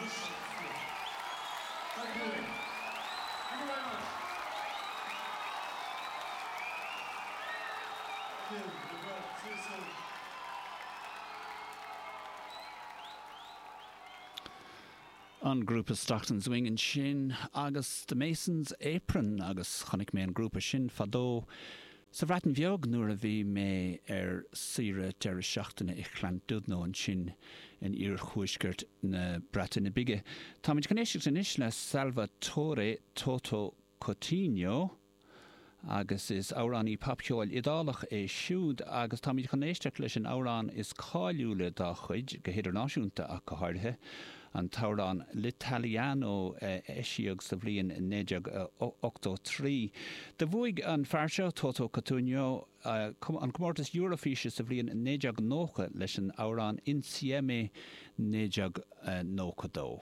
Thank you. Thank you very much. Thank you. See you soon. An grúpa Stockton Swing ansin agus The Mason's Apron agus chonaic mé an grúpa sin fadó sa Bhreatain Bheag nuair a bhí mé ar saoire deireadh seachtaine i Llandudno ansin in iarthuaisceart na Breataine Bige. Táimid chun éisteacht anois le Salvatore Toto Cutugno. Agus is amhránaí popcheoil Iodálach é siúd agus táimid chun éisteacht leis an amhrán is cáiliúla dá chuid, go hidirnáisiúnta ach go háirithe, an t-amhrán L'Italiano a eisíodh sa bhliain 1983. Do bhuaigh an fear seo, Toto Cutugno, an comórtas Eurofíse sa bhliain 1990 leis an amhrán Insieme 1992.